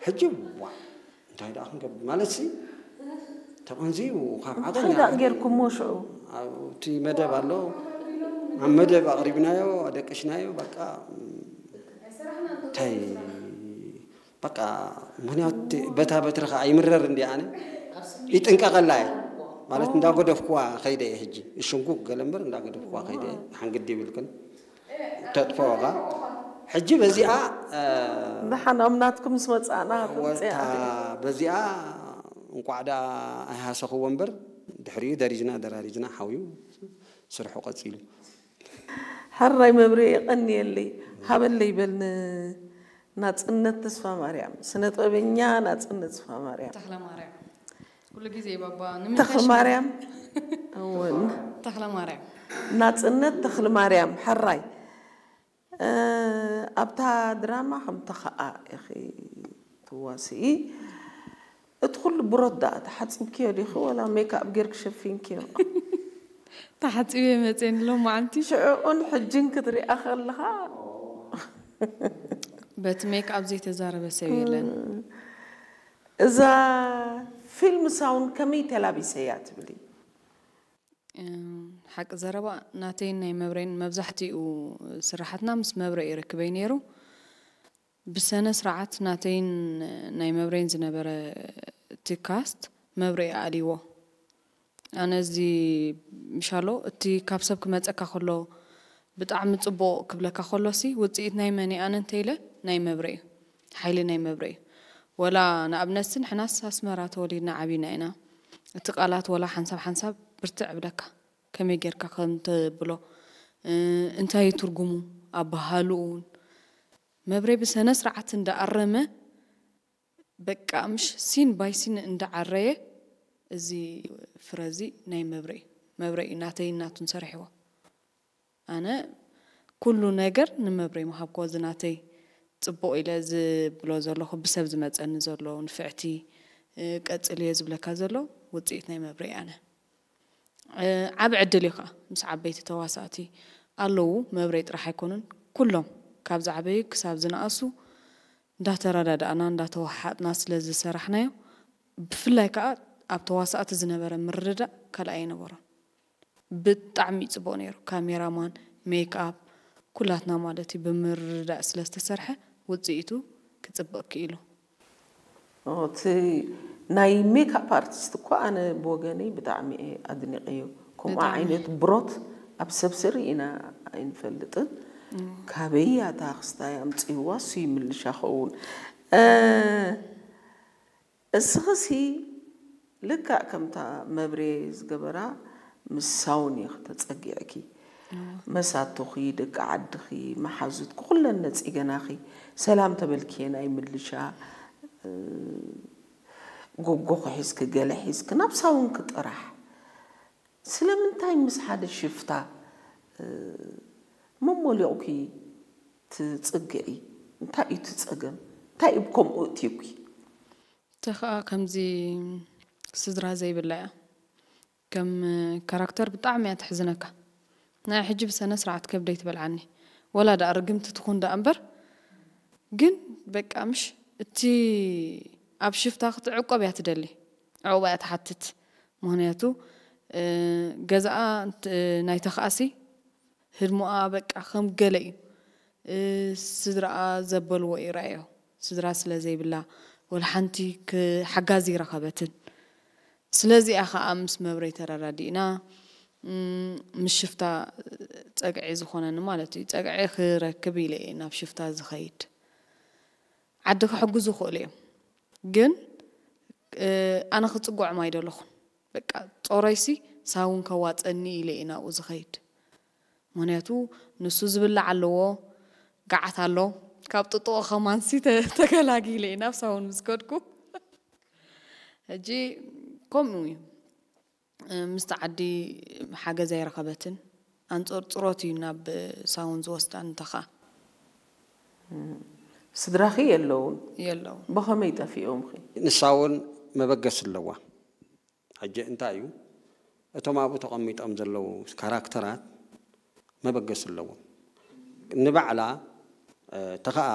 ሕጂ ዋ እንታይ ደኣ ክንገብር ማለት ሲ ተቐንዝዩ ካብ ዓቐን እንታይ ደኣ ጌርኩሞ ሽዑ? ኣብቲ መደብ ኣሎ ኣብ መደብ ኣቕሪብናዮ ኣደቅሽናዮ በቃ እንታይ በቃ ምክንያቱ በታ በትሪ ከዓ ይምረር እንዲ ኣነ ይጥንቀቐላ እየ ማለት እንዳገደፍኩዋ ከይደ እየ ሕጂ እሽንኩ ገለ እምበር እንዳገደፍኩዋ ከይደ እየ ሓንግዲ ይብልክን ተጥፈወኻ ሕጂ በዚኣ ደሓን ኣብ ናትኩም ምስ መጻእና ወታ በዚኣ እንቋዕ ደኣ ኣይሃሰኽዎ እምበር ድሕሪኡ ደሪጅና ደራሪጅና ሓውዩ ስርሑ ቀፂሉ ሕራይ መብሬ የቐንየለይ ሃበለይ በል ንናፅነት ተስፋ ማርያም ስነ ጥበበኛ ናፅነት ተስፋ ማርያም ተኽለ ማርያም ኩሉ ግዜ ባባ ተኽለ ማርያም እውን ተኽለ ማርያም ናፅነት ተኽለ ማርያም ሕራይ ኣብታ ድራማ ከምቲ ከዓ ኢኺ ትዋስኢ እቲ ኩሉ ብሮት ደኣ ተሓፂብክዮ ዲኺ ወላ ሜክኣፕ ጌርክ ሸፊንክዮ ተሓፂበ መፅየኒ ሎማዓንቲ ሽዑኡን ሕጅን ክትሪኣ ከለኻ በቲ ሜክኣፕ ዘይተዛረበ ሰብ የለን እዛ ፊልም ሳውን ከመይ ተላቢሰያ ትብሊ ሓቂ ዘረባ ናተይን ናይ መብሬን መብዛሕትኡ ስራሓትና ምስ መብረ እዩ ርክበይ ነይሩ ብሰነ ስርዓት ናተይን ናይ መብሬን ዝነበረ እቲ ካስት መብረ ኣልዎ ኣነ እዚ ምሻሎ እቲ ካብ ሰብ ክመፀካ ከሎ ብጣዕሚ ፅቡቕ ክብለካ ከሎሲ ውፅኢት ናይ መን ኣነ እንተኢለ ናይ መብረ እዩ ሓይሊ ናይ መብረ እዩ ወላ ንኣብነትሲ ንሕናስ ኣስመራ ተወሊድና ዓቢና ኢና እቲ ቃላት ወላ ሓንሳብ ሓንሳብ ብርትዕ እብለካ ከመይ ጌርካ ከም ተብሎ እንታይ እዩ ትርጉሙ ኣበሃልኡ እውን መብሬ ብሰነ ስርዓት እንዳኣረመ በቃ ምሽ ሲን ባይ ሲን እንዳዓረየ እዚ ፍረ እዚ ናይ መብሬ እዩ መብሬ እዩ ናተይ ናቱን ሰሪሕዎ ኣነ ኩሉ ነገር ንመብሬ ምሃብኮ እዚ ናተይ ፅቡቕ ኢለ ዝብሎ ዘለኹ ብሰብ ዝመፀኒ ዘሎ ንፍዕቲ ቀፅልዮ ዝብለካ ዘሎ ውፅኢት ናይ መብሬ ኣነ ዓብ ዕድል እዩ ከዓ ምስ ዓበይቲ ተዋሳእቲ ኣለዉ መብሬ ጥራሕ ኣይኮኑን ኩሎም ካብ ዝዓበዩ ክሳብ ዝነኣሱ እንዳተረዳዳእና እንዳተዋሓጥና ስለ ዝሰራሕናዮ ብፍላይ ከዓ ኣብ ተዋሳእቲ ዝነበረ ምርድዳእ ካልኣይ ኣይነበሮን ብጣዕሚ እዩ ፅቡቅ ነይሩ ካሜራማን ሜክኣፕ ኩላትና ማለት እዩ ብምርድዳእ ስለ ዝተሰርሐ ውፅኢቱ ክፅብቅ ክኢሉ እቲ ናይ ሜክኣፕ ኣርቲስት እኮ ኣነ ብወገነይ ብጣዕሚ እየ ኣድኒቀዮ ከምኡ ዓይነት ብሮት ኣብ ሰብ ስሪ ኢና ኣይንፈልጥን ካበይ ኣታ ክስታይ ኣምፅዋ እሱ ይምልሻ ኸውን እስኽሲ ልክዕ ከምታ መብሬ ዝገበራ ምስ ሳውን ኢኺ ተፀጊዕኪ መሳቱኺ ደቂ ዓድኺ መሓዙትኪ ኩለን ነፂገናኺ ሰላም ተበልክየን ኣይምልሻ ጎጎኺ ሒዝኪ ገለ ሒዝኪ ናብ ሳውንኪ ጥራሕ ስለምንታይ ምስ ሓደ ሽፍታ መሞሊቑኪ ትፅግዒ እንታይ እዩ ትፀገም እንታይ እዩ ከምኡ እትዩኪ እተ ከዓ ከምዚ ስድራ ዘይብላ እያ ከም ካራክተር ብጣዕሚ እያ ትሕዝነካ ናይ ሕጂ ብሰነ ስርዓት ከብደይ ትበልዓኒ ወላ ደኣ ርግምቲ ትኹን ደኣ እምበር ግን በቃ ምሽ እቲ ኣብ ሽፍታ ክትዕቆብ እያ ትደሊ ዕቑባ እያ ትሓትት ምክንያቱ ገዛኣ ናይተ ከኣሲ ህድሞኣ በቃ ከም ገለ እዩ ስድራኣ ዘበልዎ ይረኣዮ ስድራ ስለ ዘይብላ ወላ ሓንቲ ሓጋዚ ይረኸበትን ስለዚኣ ከዓ ምስ መብረይ ተረዳዲእና ምስ ሽፍታ ፀግዒ ዝኾነኒ ማለት እዩ ፀግዒ ክረክብ ኢለ እየ ናብ ሽፍታ ዝኸይድ ዓዲ ክሕግዙ ይኽእሉ እዮም ግን ኣነ ክፅግዖም ኣይደለኹን በቃ ጦረይሲ ሳውን ከዋፀኒ ኢለ እየ ናብኡ ዝኸይድ ምክንያቱ ንሱ ዝብላዕ ኣለዎ ጋዓት ኣሎ ካብ ጥጥቆ ከማንሲ ተገላጊለ እየ ናብ ሳውን ምስ ከድኩ ሕጂ ከምኡ እዩ ምስቲ ዓዲ ሓገዝ ኣይረኸበትን ኣንፀርፅሮት እዩ ናብ ሳውን ዝወስዳ እንተኻ ስድራኺ የለውን የለው ብኸመይ ጠፊኦምኺ ንሳ እውን መበገስ ኣለዋ ሕጂ እንታይ እዩ እቶም ኣብኡ ተቐሚጦም ዘለዉ ካራክተራት መበገስ ኣለዎም ንባዕላ ተኸኣ